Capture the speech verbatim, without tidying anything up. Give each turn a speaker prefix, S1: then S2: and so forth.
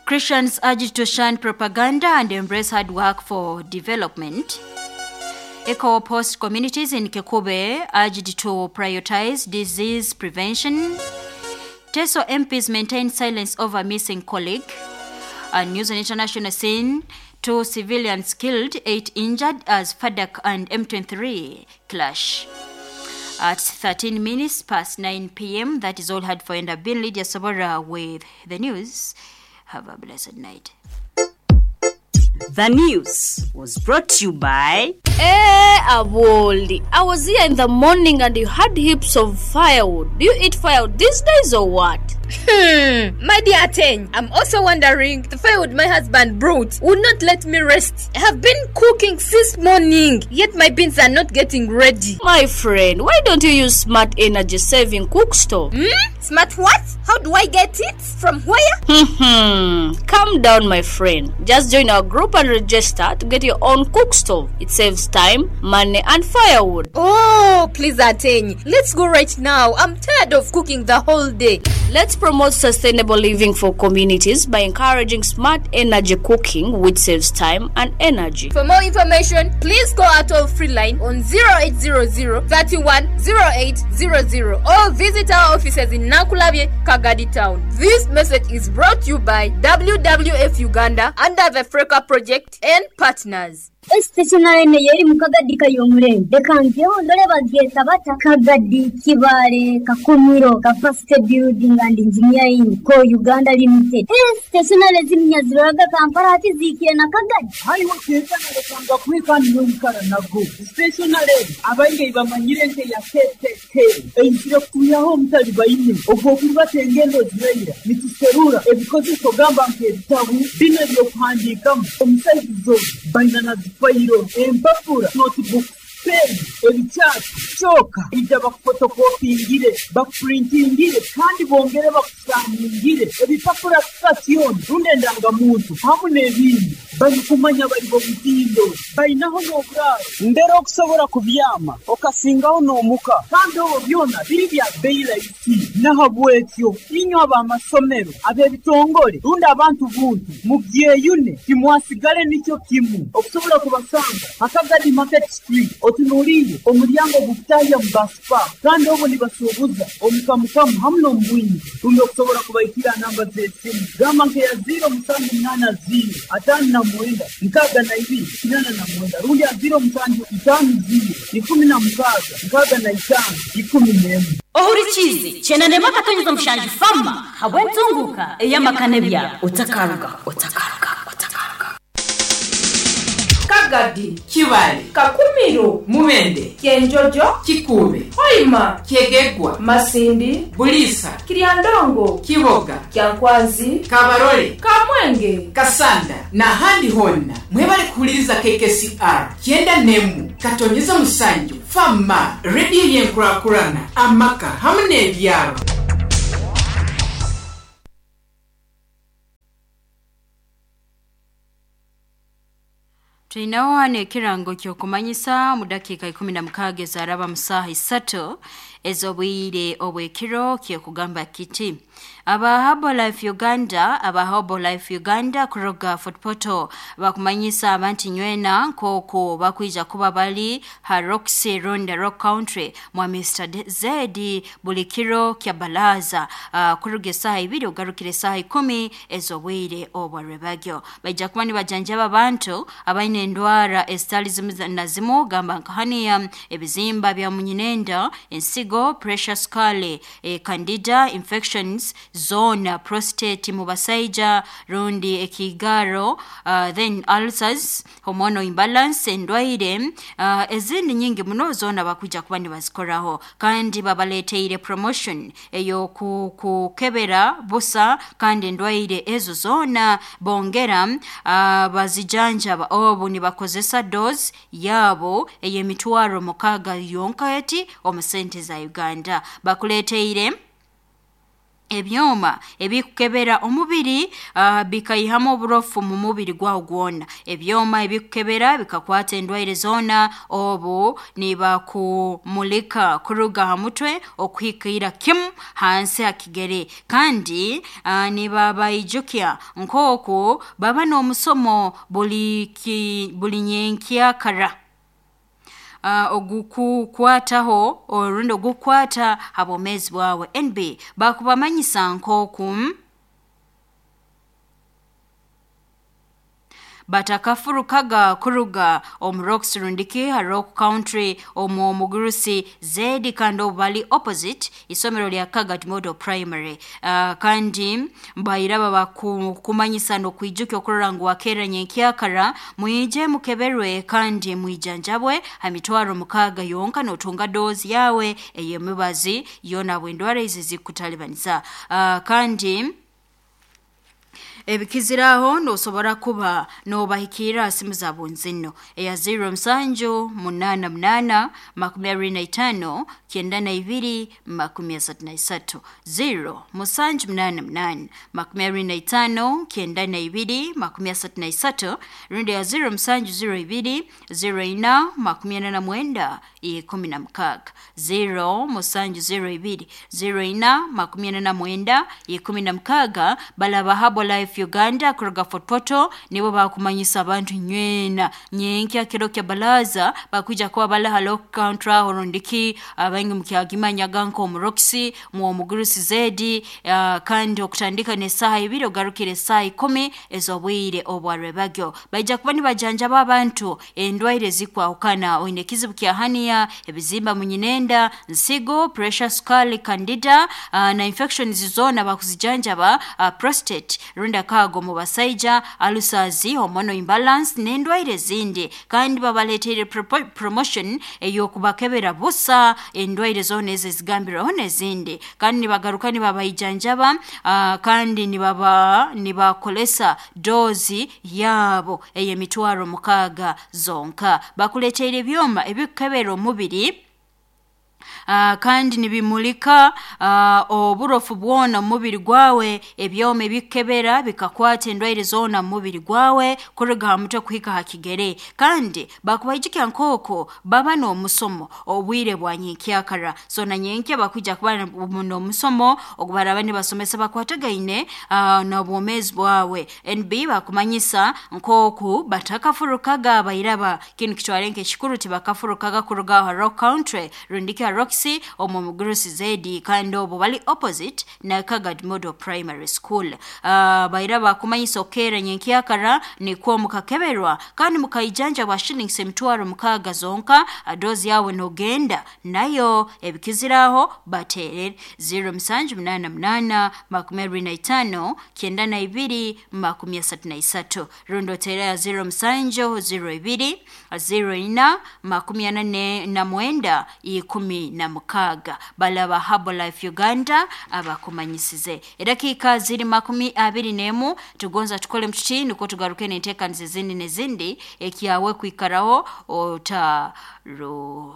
S1: Christians urged to shun propaganda and embrace hard work for development. Eco Post communities in Kikube urged to prioritize disease prevention. Teso M Ps maintain silence over missing colleague. And news on international scene, two civilians killed, eight injured as FADC and M twenty-three clash. At thirteen minutes past nine p m, that is all had for end. I've been Lydia Sabora with the news. Have a blessed night.
S2: The news was brought to you by...
S3: Hey, Aboli, I was here in the morning and you had heaps of firewood. Do you eat firewood these days or what?
S4: Hmm, my dear Ateng, I'm also wondering, the firewood my husband brought would not let me rest. I have been cooking since morning, yet my beans are not getting ready.
S3: My friend, why don't you use smart energy saving cook stove?
S4: Hmm? Smart what? How do I get it? From where?
S3: Hmm, calm down, my friend. Just join our group and register to get your own cook stove. It saves time, money, and firewood.
S4: Oh, please, Ateng, let's go right now. I'm tired of cooking the whole day.
S3: Let's promote sustainable living for communities by encouraging smart energy cooking, which saves time and energy.
S4: For more information, please call our toll-free line on zero eight zero zero, thirty-one, zero eight zero zero or visit our offices in Nakulabye, Kagadi Town. This message is brought to you by W W F Uganda under the Freka Project and partners.
S5: Stationary ne yeri mu Kagadi kayomurembe reka ndore bageta bata Kagadi Kibale Kakumiro Capacity Building and Engineering Co Uganda Limited. Stationary zimnyaziraga Kampala ati zikiye na Kagadi
S6: hayi wakeza narekanga kwikani n'omukara nago stationary abainge bamanyire nte ya K K K einzire kuyaho omutali baine ogwo kurubata engendo ziraira nituserura ebikozeso gamba nk'ebitabu bino ebyokuhandiikamu omusaizizo baina na fayiro empapura notebook pen ebikyati kyoka ijja bakufotokopingire bakupurintingire kandi bongere bakusaningire ebipapura sitasioni rundi endangamuntu hamu n'ebindi barikumanya bari bomutindo balinaho n'oburaaro mbere okusobola kubyama okasingaho n'omuka kandi obwo byona biri bya bbeeyi rahisi nahabwekyo inywe ab'amasomero ab'ebitongole rundi abantu buntu mubyeyune timwasigale nikyo kimu okusobola kubasanga Akagadi Market Street otunuulire omulyango gukutahya mu baspa kandi obwo nibasuubuza omukamukamu hamu n'omubwingi rundi okusobola kubaikira namba z'esimu gamba nkeya ziro musanju munaana ziro ataano na mwenda nkaaga na ibiri kinana na mwenda rundi ya ziro musanju itaano ziro ikumi na mukaaga nkaaga na itaano ikumi n'emwe.
S2: Ohurikizi chenanema katonyeza mushanju fama habwentunguka eyamakane bya otakaruga otakaruga otakaruga.
S7: Kagadi,
S8: Kibale,
S7: Kakumiro,
S8: Mubende,
S7: Kyenjojo,
S8: Kikube,
S7: Hoima,
S8: Kyegegwa,
S7: Masindi,
S8: Bulisa,
S7: Kiryandongo,
S8: Kiboga,
S7: Kyankwanzi,
S8: Kabarole,
S7: Kamwenge,
S8: Kasanda n'ahandi honna mwebale kuhuliriza K K C R kyenda n'emu katonyeza musanju fama rediyo y'enkurakurana amaka hamu n'ebyaro.
S1: Tulinawo wano ekirango ky'okumanyisa mu dakiika ikumi na mukaaga ezaraba mu ssaaha isatu ez'obwire obw'ekiro kyekugamba kiti aba Herbalife Uganda aba Herbalife Uganda kuruga Fort Portal bakumanyisa abantu nywena nk'oku bakwija kuba bali ha Roxy Ronda Rock Country mwa Mister Zedi buli kiro kya balaza uh, kuruga essaaha ibiri ogarukire essaaha ikumi ez'obwire obwarwebagyo baija kuba nibajanjaba abantu abaine endwara ezitali zimu na zimu gamba nka hania ebizimba bya munyinenda ensigo pressure scale e, candida infections zona prostate mu basaija rundi ekigaro uh, then ulcers hormonal imbalance endwaire uh, ezindi nyingi muno zona bakuja kuba nibazikoraho kandi babaleteire promotion eyo kukebera busa kandi endwaire ezo zona bongera uh, bazijanjaba obu nibakozesa dose yabo ey'emitwaro mukaaga yonka eti omu sente za Uganda bakuleteire Ebyoma ebikukebera omubiri uh, bikaihamu oburofu mu mubiri gwawo gwona. Ebyoma ebikukebera bikakwata endwaire zona obu nibakumulika kuruga ha mutwe okuhikira kimu hansi ha kigere. Kandi uh, nibabaijukya nk'oku baba n'omusomo buli ki, buli nyenkyakara. Uh, ogukukwataho orundi ogukukwata ha bwomeezi bwawe. N B bakubamanyisa nk'oku batakafurukaga kuruga omu Rocks rundiki ha Rock Country omu omugurusi Zedi kandi obu bali opposite isomero lya Kagadi Model Primary. Uh, kandi mbairaba bakumanyisa n'okwijukya okurora ngu wakera nyenkyakara mwije mukeberwe kandi mwijanjabwe ha mitwaro mukaaga yonka n'otunga dozi yawe ey'emibazi yona bwendwara izi zikutalibaniza. Uh, kandi ebikiziraho nosobora kuba nobahikira simu za bunzino eya zero musanju munana munana makumi abiri na itano kyenda na ibiri makumi asatu na isatu zero musanju munana munana makumi abiri na itano kyenda na ibiri makumi asatu na isatu rundi ya zero musanju zero ibiri zero ina makumi ana na mwenda ikumi na mukaaga zero musanju zero ibiri zero ina makumi ana na mwenda ikumi na mukaaga. Balaba Herbalife Uganda kuruga Fort Portal nibo bakumanyisa abantu nywena nyenkya kiro kya balaza bakwija kuba bala Rock Country horondiki abaingi mukyagimanyaga nko mu Roxy mu omugurusi Zedi uh, kandi okutandika ne saha ibiri ogarukire saha ikumi ezobwire obwarebagyo baija kuba nibajanjaba abantu endwaire zikwahukana oine kizibu kya hania ebizimba munyinenda nsigo pressure sukali candida uh, na infections zona bakuzijanjaba uh, prostate runda kago mu basaija alusazi hormonal imbalance n'endwaire zindi. Kandi babaletere promotion ey'okubakebera busa endwaire zona ezo ezigambirweho n'ezindi. Kandi nibagaruka nibabayijanjaba uh, kandi nibaba nibakolesa dozi yabo ey'emitwaro mukaaga zonka. Bakuleteire ebyoma ebikukebera omubiri Uh, kandi nibimulika uh, oburofu bwona mu mubiri gwawe. Ebyoma ebikukebera bikakwata endwaire zona mu mubiri gwawe kuruga ha mutwe kuhika ha kigere. Kandi bakubaijukya nk'oko baba n'omusomo obwire bwa nyenkyakara. So na nyenkya bakwija kuba n'omusomo ogubaraba nibasomesa bakwatagaine uh, n'obwomeezi bwawe. N B bakumanyisa nk'oku batakafurukaga abairaba kinu kitware nk'ekikuru tibakafurukaga kuruga ha Rock Country rundiki ha Roxy omu mugurusi Zedi kandi obu bali opposite na Kagadi Model Primary School. Uh, bairaba kumanyisa okera nyenkyakara nikwo mukakeberwa kandi mukaijanja bwa shillings emitwaro mukaaga zonka dozi yawe nogenda nayo ebikiziraho baterere zero musanju munana munana makumi abiri na itano kyenda na ibiri makumi asatu na isatu rundo tera ya zero musanju zero ibiri zero ina makumi ana na mwenda ikumi na mukaaga. Balaba Herbalife Uganda abakumanyisize. Edakika ziri makumi abiri n'emu tugonza tukole mtuti niko tugaruke n'enteekaniza ezindi n'ezindi ekyawe kwikaraho otarugaho.